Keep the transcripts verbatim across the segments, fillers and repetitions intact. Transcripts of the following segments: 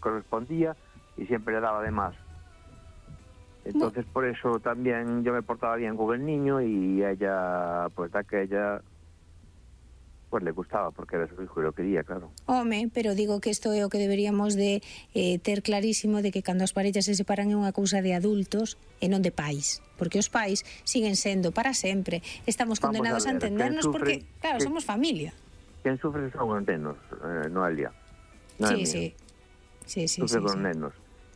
correspondía y siempre le daba de más. Entonces por eso también yo me portaba bien con el niño y ella, pues da que ella pues le gustaba porque era su hijo y lo quería, claro. Home, pero digo que isto é o que deberíamos de eh, ter clarísimo, de que cando as parellas se separan é unha cousa de adultos e non de pais, porque os pais siguen sendo para sempre, estamos condenados a, a entendernos porque, claro, que, somos familia. Quen sufre son os nenos, eh, Noelia. Sí, sí. Sí, sí, sufre sí, con sí. nenos.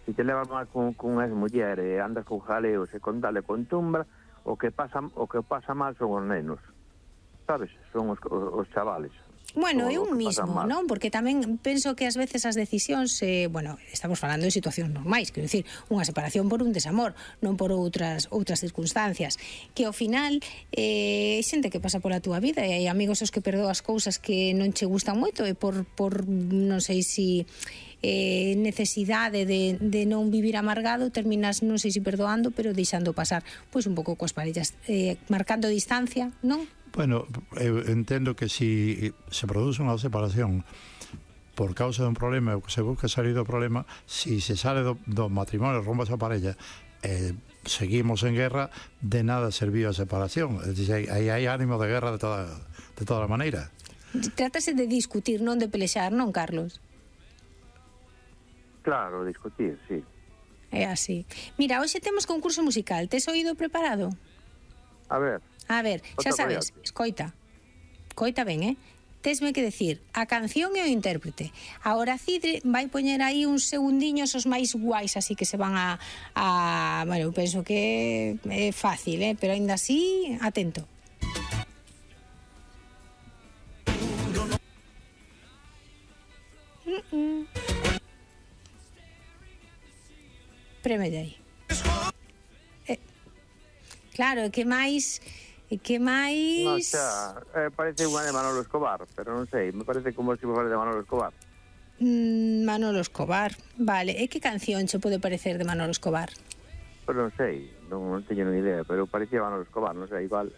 Si te levas mal con, con as mulleres, andas con jaleos e con dale con tumbra, o que pasa o que pasa mal son os nenos. Sabes? Son os, os, os chavales. Bueno, é un mismo, non? Porque tamén penso que ás veces as decisións, eh, bueno, estamos falando de situacións normais, quero dicir, unha separación por un desamor, non por outras outras circunstancias, que ao final eh, xente que pasa pola túa vida e hai amigos os que perdoas cousas que non che gustan moito e por, por non sei si eh, necesidade de, de non vivir amargado terminas, non sei se perdoando, pero deixando pasar, pois un pouco coas parellas, eh, marcando distancia, non? Bueno, eu entendo que si se produce unha separación por causa dun problema ou que se busca salir do problema, si se sale do, do matrimonio, rompa esa parella, eh, seguimos en guerra, de nada serviu a separación. É dicir, aí hai ánimo de guerra de toda, de toda a maneira. Trátase de discutir, non de pelexar, non, Carlos? Claro, discutir, sí. É así. Mira, hoxe temos concurso musical. Tes oído preparado? A ver. A ver, xa sabes, escoita. Escoita ben, eh? Tesme que decir a canción e o intérprete. Ahora Cidre vai poñer aí uns segundiños os máis guais, así que se van a... a bueno, eu penso que é fácil, eh? Pero ainda así, atento. Mm -mm. Prémelle aí. Eh, claro, que máis... que máis... No, xa, eh, parece unha de Manolo Escobar, pero non sei, me parece como se fora de Manolo Escobar. Mm, Manolo Escobar, vale. E que canción se pode parecer de Manolo Escobar? Pero non sei, non, non teño ni idea, pero parecía Manolo Escobar, non sei, igual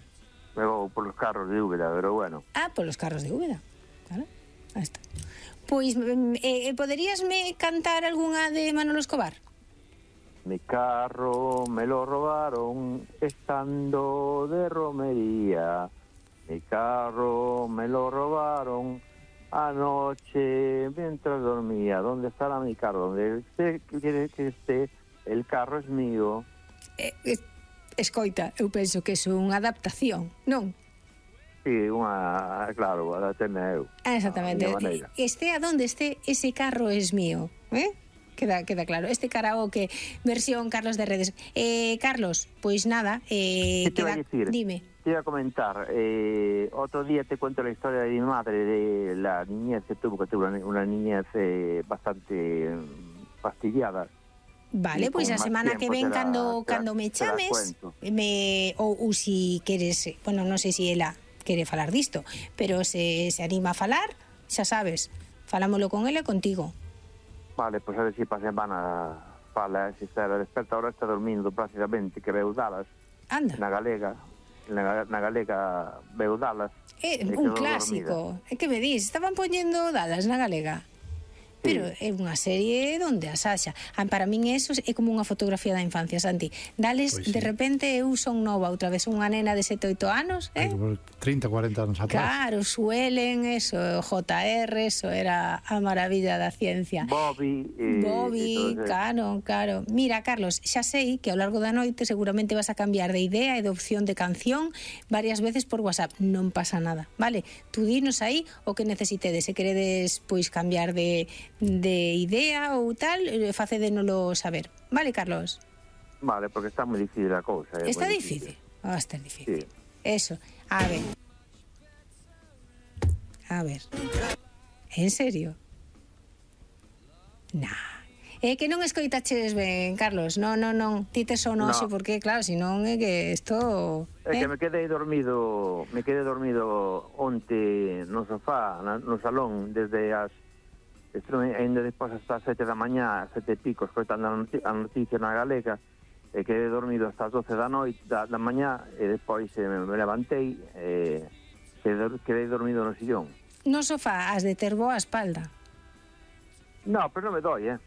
me vou polos carros de Úbeda, pero bueno. Ah, polos carros de Úbeda, claro, aí está. Pois, eh, poderíasme cantar algunha de Manolo Escobar? Mi carro me lo robaron estando de romería. Mi carro me lo robaron anoche mientras dormía. ¿Dónde estará mi carro? Donde usted quiere que esté, el carro es mío. Eh, eh, escoita, eu penso que é unha adaptación, non? Sí, unha, claro, adapteme eu. Ah, exactamente. Este a donde esté, ese carro es mío, eh? Queda, queda claro. Este karaoke versión Carlos de Redes. Eh, Carlos, pois nada, eh, queda, dime. Te iba a comentar, eh, otro día te cuento la historia de mi madre, de la niñez que tuvo, que tuvo una, una niñez eh, bastante fastidiada. Vale, pois pues a semana que ven la, cando, la, cando me chames me, ou, ou si queres, bueno, non sei se ela quere falar disto, pero se, se anima a falar, xa sabes, falámoslo con ela e contigo. Vale, pois pues a ver se si pa semana fala, se está desperta, ahora está dormindo prácticamente, que veu dalas. Anda. Na galega, na, na galega veu dalas. É un clásico. É que me dis, estaban poñendo dalas na galega. Pero é unha serie onde a Sasha, para min eso é como unha fotografía da infancia, Santi. Dales, pues sí. De repente eu son nova outra vez, unha nena de sete, oito anos, eh? trinta, cuarenta anos atrás. Claro, suelen, eso, J R, eso era a maravilla da ciencia. Bobby, eh, Bobby, claro, claro. Mira, Carlos, xa sei que ao largo da noite seguramente vas a cambiar de idea e de opción de canción varias veces por WhatsApp. Non pasa nada, vale? Tú dinos aí o que necesitedes, se queredes pois cambiar de de idea ou tal, facédenolo saber. Vale, Carlos? Vale, porque está moi difícil a cousa. Está difícil? Va a estar difícil. Sí. Eso. A ver. A ver. En serio? Nah. É que non escoitaches ben, Carlos. Non, non, non. Ti tes o noxe, no. Porque, claro, senón é que isto... É eh? que me quedei dormido, me quedei dormido onte no sofá, no salón, desde as estuve ainda despois hasta as sete da mañá, sete e pico, escoitando a noticia na galega, e quedei dormido hasta as doce da noite, da, da mañá, e despois eh, me levantei, e eh, quedei dormido no sillón. No sofá, has de ter boa espalda. No, pero non me doi, eh.